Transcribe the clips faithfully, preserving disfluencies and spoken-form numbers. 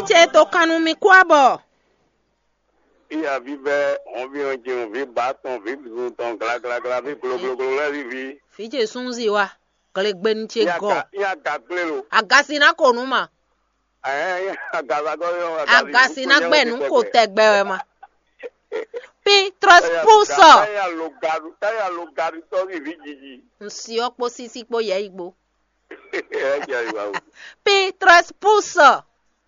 Ce to kan nú mi kú abɔ. Iya vívɛ́, hɔnví ɔ́ jɛ́n, vǐ bǎ tɔn, vǐ zun tɔn, glaglagla, vǐ glogloglo lɛ́ɛ ví vǐ. Vǐ ce súnzi wa, glegbenu ce gɔ. Iya ga gblé lo. Agasi ná ko nú ma. Ɛɛ, iya ga gblé lo. Agasi ná gbɛ nú ko tɛgbɛ wɛ ma. Pi trɔs pusɔ. Táyà lo gaɖu, táyà lo gaɖu tɔ́ ví vǐ jiji. Nsi ɔ́ kpó sísí kpó yɛ yi gbo. Ɛ jɛ yi wa o. Pi trɔs pusɔ.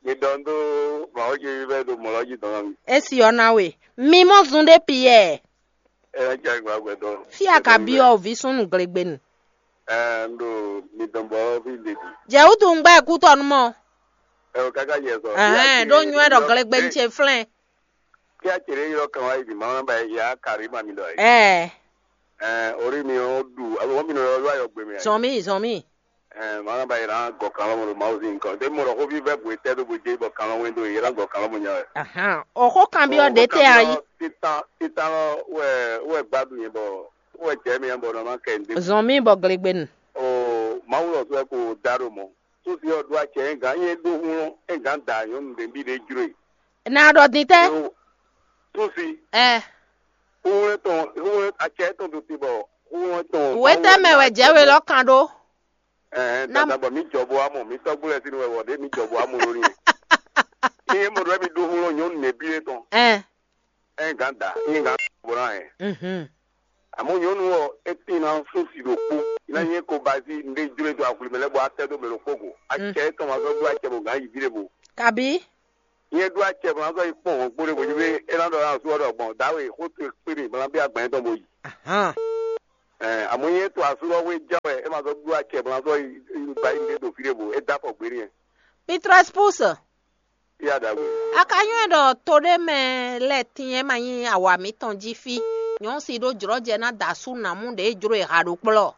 Mi dɔn dó mawɔjɛ yi vɛ do mɔlɔ ji dɔn mi. Esi ɔ́ ná we. Mi mɔ zun ɖé piyɛ. Ɛ jɛ yi wa gbɛ dɔn. Fia ka bi ɔ vi súnnu glegbenu. Ɛ n do mi dɔn bɔ fi de di. Jɛ wutu ŋgbɛ kútɔnu mɔ. Ɛ o kaka yɛ sɔ. Ɛhɛn, ɖó nyɔɛ ɖɔ glegbenu ce flɛn. Kí a cèrè ylɔ́ kan wá yi bǐ ma wá ba ya kari ma mi ɖɔ yi. Ɛɛ. Ɛɛ, orí mi ɔ́ ɖu alo wọ́n mi nɔ ylɔ́ ayɔgbe mɛ. Zɔn mì, zɔn mì. Ɛɛ, ma wá ba yi na gɔ kan lɔmɔ ɖo Mawu sín nukɔn. Ɖé mɔ ɖɔ xóví vɛ bwe tɛ ɖó bwe jɛ bɔ kan lɔmɔ do yi na gɔ kan lɔmɔ nya wɛ. Ahan, o xó kan bi ɔ ɖe tɛ a yi. Titan titan lɔ wɛ wɛ gbadu yẹn bɔ wɛ jɛ mi yẹn bɔ nɔ ma kɛ n de. Zɔn mì bɔ glegbenu. O Mawu lɔ sɔ ko da ɖo mɔ. Susi ɔ́ ɖó acɛ é gǎn nyɛ ɖó hlɔ́n é gǎn da nyɔ̌nu ɖě bǐ ɖě jló e. Ná ɖɔ din tɛ́? Susi. Ɛ. Hlɔ́n tɔn hlɔ́n acɛ tɔn ɖo te bɔ hlɔ́n tɔn. Wetɛ́ mɛ wɛ jɛ we lɔ kan ɖó. Ɛɛ dada bɔ mi jɔ bo amɔ mi tɔgbo lɛ sinu wɛ wɔ ɖe mi jɔ bo amɔ lórí. Ní é mɔ ɖɔ mi ɖó hlɔ́n nyɔ̌nu nɛbí é tɔn. Ɛ. É gǎn da é gǎn bɔ ná ɛ. Mhm. Àmọ́ nyɔ̌nu ɔ́, é tín ná sún si ɖokpó, ná nyɛ ko ba sí nɖé jló dó axwlí mɛ lɛ́ɛ bɔ atɛ dó mɛ ɖokpó go. Acɛ étɔn ma zɔ́ dó acɛ bɔ gǎn yi ví ɖé bo. Kabi? Nyɛ ɖó acɛ bɔ ná zɔ́ yi kpɔ́n hɔn gbó ɖé bo jí é ná ɖɔ ná sú ɔ́ ɖɔ gbɔn dǎwe xó towe kpé mi bɔ ná bí agbɛ̌n tɔn bo yi. Ahan. Ɛ àmọ́ nyɛ to asú lɔ wé ján wɛ é ma zɔ́ ɖó acɛ bɔ ná zɔ́ yi ba yi nɖé ɖo fí ɖé bo é dó afɔ gbé n'i. Pitrɔs pus. Yá ɖagbe. A ka nywɛ́ ɖɔ to ɖé mɛ lɛ́ɛ tín é ma nyí awa mǐtɔn jí fí, nyɔ̌nu si ɖó jlɔ̌jɛ ná da asú nǎmú ɖě jló e ha ɖo kplɔ́.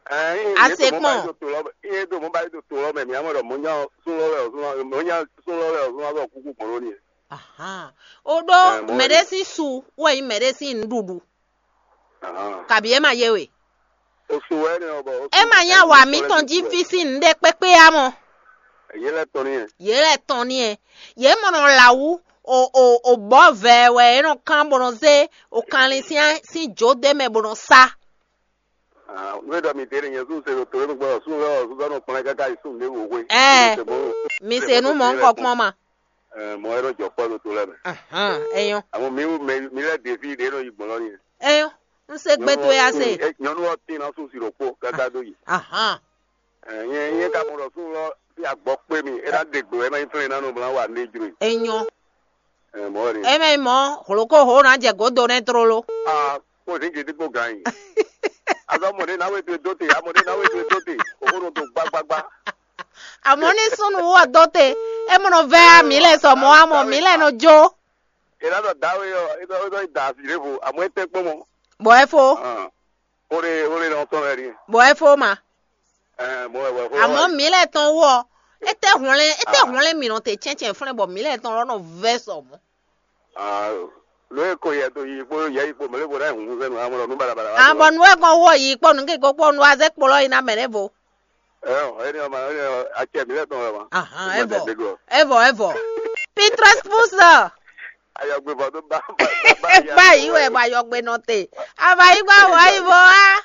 Ɛ, ɛ, A se kpɔ́n. Yé do mɔ ba yi do to lɔ mɛ, mǐ mɔ ɖɔ mɔ̌ nya súnlɔ́ wɛ ɔ́, mɔ̌ nya súnlɔ́ wɛ ɔ́, súnlɔ́ wɛ ɔ́ kúkú gbɔn ɖó n'i. Ahan. O ɖó ɛ, mɔ̌ mɛ wɛ ɖé ni. Sín su wɛ nyí mɛ ɖé sín nǔɖuɖu. Ahan. Kabi é ma yé we. Osu wɛ ni ɔbɔ. É ma nyí awa mǐtɔn jí fí sín nǔɖé kpékpé á mɔ. Yě lɛ tɔn ni yɛ. Yě lɛ tɔn ni yɛ. Yě mɔ nɔ la wú o o o bɔ vɛ wɛ é nɔ kán bɔ nɔ zé o kanlin sín sín jǒ ɖé mɛ bɔ nɔ sá. Nú é ɖɔ mi dé ɖe nyɛ sún se ɖo to lé gbɔ sún lɛ ɔsún sɔnù kplɔn káká yi sún lé wò hwe. Ɛ. Mi se nú mɔ ŋkɔ kpɔn ma. Mɔ ɛ nɔ jɔ kpɔ ɖo to lɛ mɛ. Ahan, eyɔn. Àmọ́ mi mi mi lɛ ɖevi ɖe nɔ yi gbɔn lɔ ni. Eyɔn. N se gbe to ya se. Nyɔnu ɔ tin na sún si ɖokpó káká dó yi. Ahan. Nyɛ nyɛ ka mɔ ɖɔ sún lɔ fi agbɔ kpé mi é ná ɖe gbe wɛ ma yi flɛn na nɔ bla wa ne jro yi. Eyɔn. Mɔ ɛ ni. Eme mɔ hloko ho na jɛ godo ne trolo. Ah, kó ní gidi kó gan yi. Azɔ mɔ ɖe na we do do te, amɔ ɖe na we do do te, o ko do gbagbagba. Amɔ ní súnnu wɔ dó te, é mɔ nɔ vɛ mi lɛ sɔ mɔ amɔ mi lɛ nɔ jó. È nǎ ɖɔ dǎwe ɔ́, é ɖɔ é ɖɔ é da asi ɖěvo, àmọ́ é tɛ́ kpɔ́n mɔ. Bɔ é fó. Ó lé ó lé nɔ tɔn wɛ ɖi. Bɔ é fó ma. Ɛ mɔ wɛ wɛ fó. Àmọ́ mi lɛ tɔn wɔ, é tɛ hwlɛn é tɛ hwlɛn mi nɔ te cɛncɛn flɛn bɔ mi lɛ tɔn lɔ nɔ vɛ sɔ mɔ. Ló é ko yɛ to yi kpó yɛ yi kpó mɛ lé bo ɖá hun sɛnu amɔ lɔ nú balabala. Àmọ́ nu é kɔn wɔ yi kpɔ nu kéko kpɔ nu azɛ kplɔ yi na mɛ ɖěvo. Ɛ ɔ é ní ɔmɔ é ní ɔ acɛ mi lɛ tɔn wɛ ma. Ahan, evɔ evɔ evɔ. Pitrɔs pusɔ. Ayɔgbe bɔ tó bá bá bá Gba yi wɛ bɔ ayɔgbe nɔ te. Ava yi gba wɔ yi bɔ wa.